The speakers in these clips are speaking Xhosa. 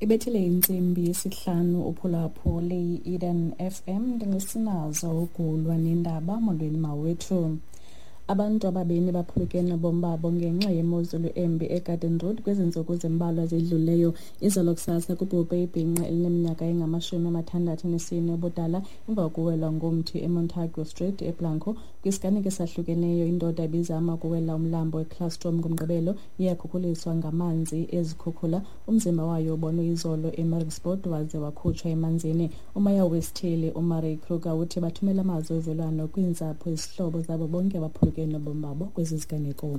Ibethile intsimbi yesihlanu uphulaphule i-Eden FM. Ndingusinazo ugulwa nendaba. Molweni mawethu. Abantu ababini baphulukene nobomi babo ngenxa yemozulu embi eGarden Road kwezi ntsuku zimbalwa zidluleyo. Izolo kusasa kubhubhe ibhinqa elineminyaka engama-64 ubudala emva kokuwelwa ngumthi eMontague Street eBlanco. Kwisiganeko esahlukeneyo, indoda ibizama ukuwela umlambo eClastrom ngoMgqibelo iyakhukhuliswa ngamanzi ezikhukhula. Umzimba wayo ubonwe izolo eMaritzburg waze wakhutshwa emanzini. Umeya wesithili uMurray Kruger uthi bathumela amazwi ovelwano kwiintsapho, izihlobo zabo bonke abaphulukene nobomi babo kwezi ziganeko.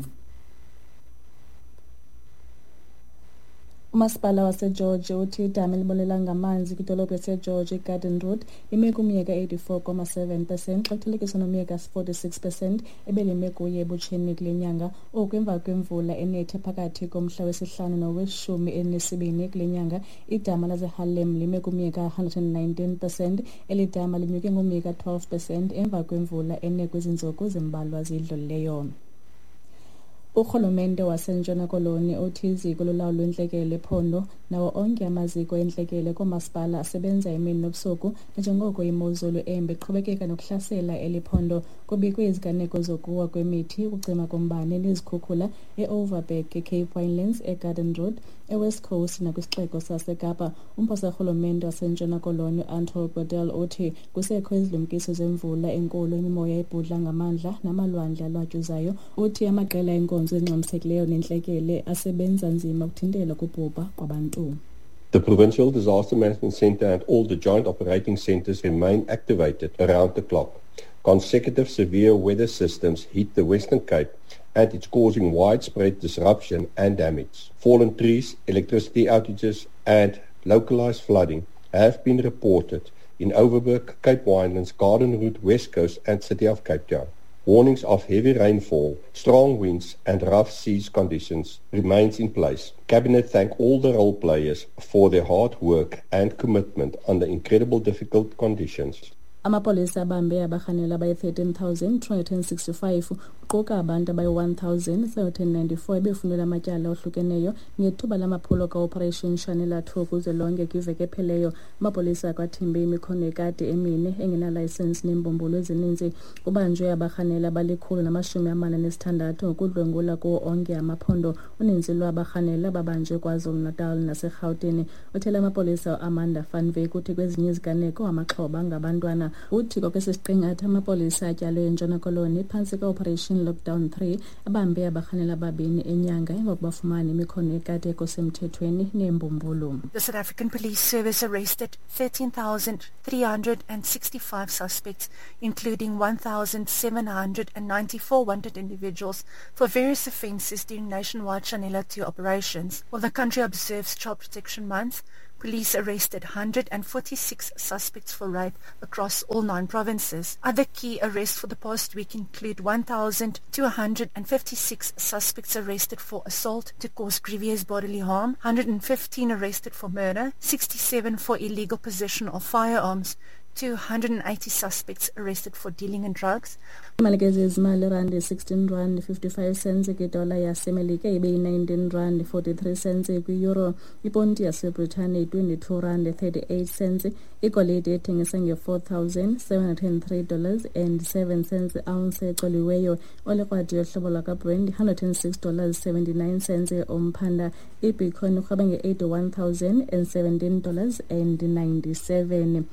Umasipala waseGeorge uthi idama elibonelela ngamanzi kwidolophu yaseGeorge iGarden Road lime kumyeka 84.7% xa kuthelekiswa nomyeka 46% ebelime kuye ebutsheni kule nyanga. Oku emva kwemvula enethe phakathi komhla wesihlanu noweshumi elinesibini kule nyanga. Idama laseHarlem lime kumyeka 119%. Eli dama linyuke ngomyeka 12% emva kwemvula ene kwezi ntsuku zimbalwa zidlulileyo. Urhulumente waseNtshona Koloni uthi iziko lolawulo lwentlekele ephondo nawo onke amaziko entlekele koomasipala asebenza imini nobusuku nanjengoko imozulu embi iqhubekeka nokuhlasela eli phondo. Kubikwe iziganeko zokuwa kwemithi, ukucima kombane nezikhukhula e-Overberg, eCape Winelands, eGarden Road, eWest Coast nakwisixeko saseKapa. Umphosa rhulumente waseNtshona Koloni uAnton Bredell uthi kusekho izilumkiso zemvula enkulu, imimoya ebhudla ngamandla namalwandle alwatyuzayo. Uthi amaqela enkonzo ezingxamisekileyo nentlekele asebenza nzima ukuthintela ukubhubha kwabantu. The Provincial Disaster Management Centre and all the joint operating centres remain activated around the clock. Consecutive severe weather systems hit the Western Cape and it's causing widespread disruption and damage. Fallen trees, electricity outages and localized flooding have been reported in Overberg, Cape Winelands, Garden Route, West Coast and City of Cape Town. Warnings of heavy rainfall, strong winds and rough seas conditions remains in place. Cabinet thank all the role players for their hard work and commitment under incredible difficult conditions. Amapolisa abambe abarhanelwa abayi-13,265 kuquka abantu abayi-1,794 ebefunelwa amatyala ohlukeneyo ngethuba lamaphulo ka-Operation Shanela 2 kuzwelonke kwiveki epheleyo. Amapolisa akwathimbe imikhono yekati emine engenalayisensi neembumbulu ezininzi. Kubanjwe abarhanelwa abali-146 ngokudlwengula kuwo onke amaphondo. Uninzi lwabarhanelwa babanjwe KwaZulu-Natal naseRhawutini. Uthele amapolisa uAmanda van Wyk uthi kwezinye iziganeko amaxhoba ngabantwana. Uthi kwakwesi siqingatha amapolisa atyalwe eNtshona Koloni phantsi kwe-Operation Lockdown 3 abambe abarhanelwa ababini enyanga emva kokubafumana imikhono yekati ekosemthethweni neembumbulu. The South African Police Service arrested 13,365 suspects, including 1,794 wanted individuals for various offences during nationwide Shanela 2 operations. While the country observes Child Protection Month, police arrested 146 suspects for rape across all 9 provinces. Other key arrests for the past week include 1,256 suspects arrested for assault to cause grievous bodily harm, 115 arrested for murder, 67 for illegal possession of firearms, 280 suspects arrested for dealing in drugs. Imali ke zezimali, irandi 16 rand 55 cents kwidola yaseMelika, ibe yi-19 rand 43 cents kwi-euro. Iponti yaseBritane yi-22 rand 38 cents. Igolide ethengisa nge-$4,703 dollars and 7 cents ounce ecoliweyo. Olikrwadi yohlobo lwakaBrand $106 dollars 79 cents umphanda. Ibitcoin irhweba nge-$81,017 dollars and 97.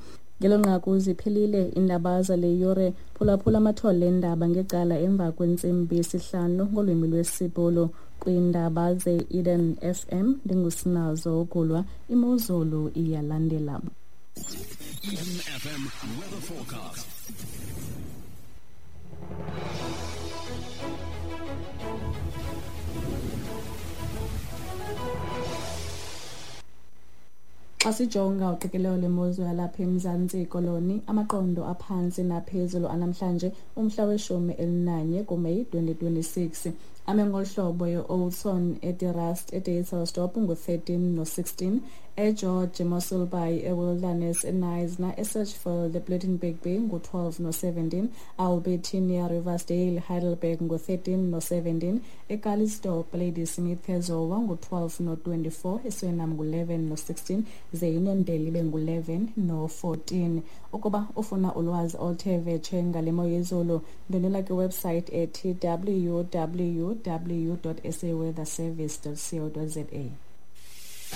Ngelo nqaku ziphelile iindaba zale yure. Phulaphula amathole eendaba ngecala emva kwentsimbi yesihlanu ngolwimi lwesiBhulu. Kwiindaba ze-Eden FM ndingusinazo ugulwa. Imozulu iyalandela. Eden FM weather forecast. Xa sijonga uqikelelo lwemozulu yalapha eMzantsi Koloni, amaqondo aphantsi naphezulu anamhlanje umhla we-11 kuMeyi 2026 ame ngolu hlobo: e-Oudtshoorn, eDe Rust, eDassel ngu-13 no-16, eGeorge, Mossel Bay, eWilderness, eKnysna, eSearchfield, ePlettenberg Bay ngu-12 no-17, Albertinia, Riversdale, Heidelberg ngu-13 no-17, eCalitzdorp, Ladysmith, eZowa ngu-12 no-24, eSurinam ngu-11 no-16, ze iNondeli ibe ngu-11 no-14. Ukuba ufuna ulwazi oluthe vetshe ngale mo yezulu, ndwendwela kwiwebsite ethi www.saweatherservice.co.za.